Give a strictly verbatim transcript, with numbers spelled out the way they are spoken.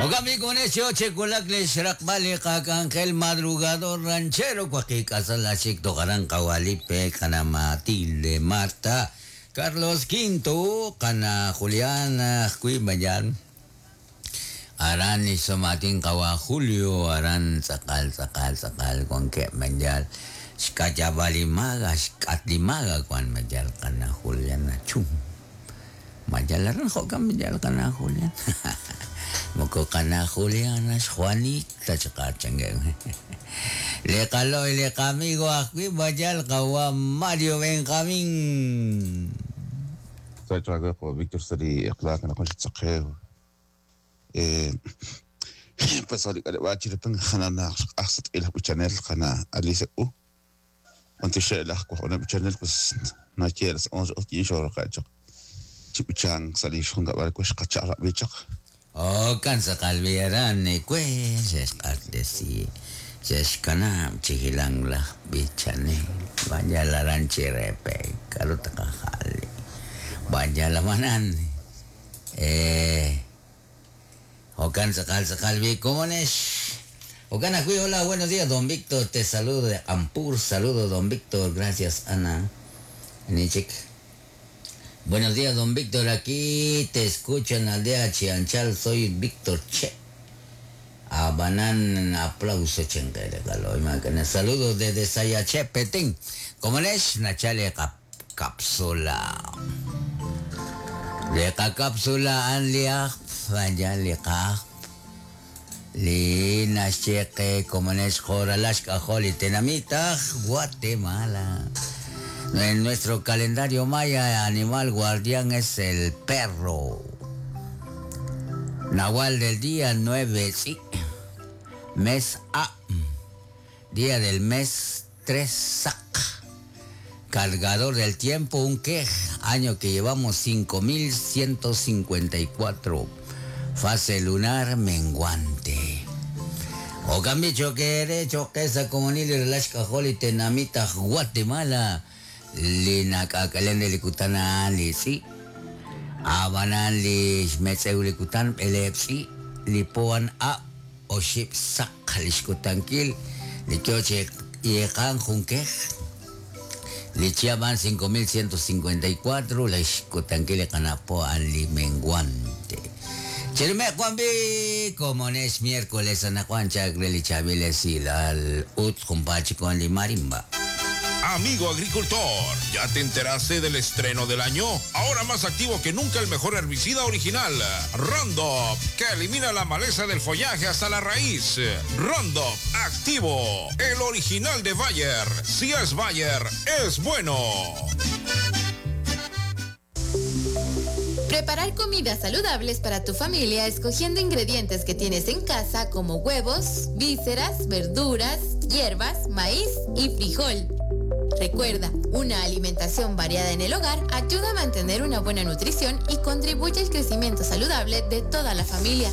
Ogami con ese oche kulak le xraqbal qakangel madrugador ranchero cuaquicasala togaran kawalipe kana Matilde Marta Carlos Quinto kana Juliana kui mayan aran isomatin kawa Julio aran sakal sakal sakal con que mayal xkayabalimaga xkatlimaga kuan mayal kana Juliana chum mayal aran jokan mayal kana Juliana moko kana Juliana Juanita chakachangue le calo y le amigo aquí mayal kawa Mario Benjamín Víctor sari iqlaq na kunch tsaqew eh pues ali kale chirpan xanana axsat ila buchanel xana Alicia u antishe la ko na buchanel pues na quieres onze o quince horas qacho chibuchan sali xunga bar ko xqachara bichaq. Oh, cansa kalbiaran ni pues es si se chihilang la bichane vaya la ranchirepe karuta kajali vaya la manan eh o cansa calza calvi cómo es o cana hola, buenos días don Víctor, te saludo de Ampur, saludo don Víctor, gracias Ana Nichik. Buenos días, don Víctor. Aquí te escucho en la aldea Chianchal. Soy Víctor Che. Abanan aplauso chenguere. Saludos desde Sayache, Petén. Como les, Nachale cap cápsula. Leca cápsula an liaj, vaya liaj. Li nacheque, como les joralashka joli tenamita, Guatemala. En nuestro calendario maya, animal guardián es el perro. Nahual del día nueve, sí. Mes A. Día del mes tres, sac. Cargador del tiempo, un quej. Año que llevamos cinco mil ciento cincuenta y cuatro. Fase lunar menguante. O cambio que derecho que esa comunidad de las cajoli tenamita Guatemala. Lina kakalende likutana li si abanan li metseu likutan elepsi lipoan a oship sak lishkutankil likioche yekan junkej lichiaban cinco mil ciento cincuenta y cuatro lishkutankil kanapoan li menguante. Chirme Juanbi, como es miércoles anacuan chagre lichaviles y al ut kumpachi con li marimba. Amigo agricultor, ¿ya te enteraste del estreno del año? Ahora más activo que nunca el mejor herbicida original, Roundup, que elimina la maleza del follaje hasta la raíz. Roundup activo, el original de Bayer. Si es Bayer, es bueno. Preparar comidas saludables para tu familia escogiendo ingredientes que tienes en casa como huevos, vísceras, verduras, hierbas, maíz y frijol. Recuerda, una alimentación variada en el hogar ayuda a mantener una buena nutrición y contribuye al crecimiento saludable de toda la familia.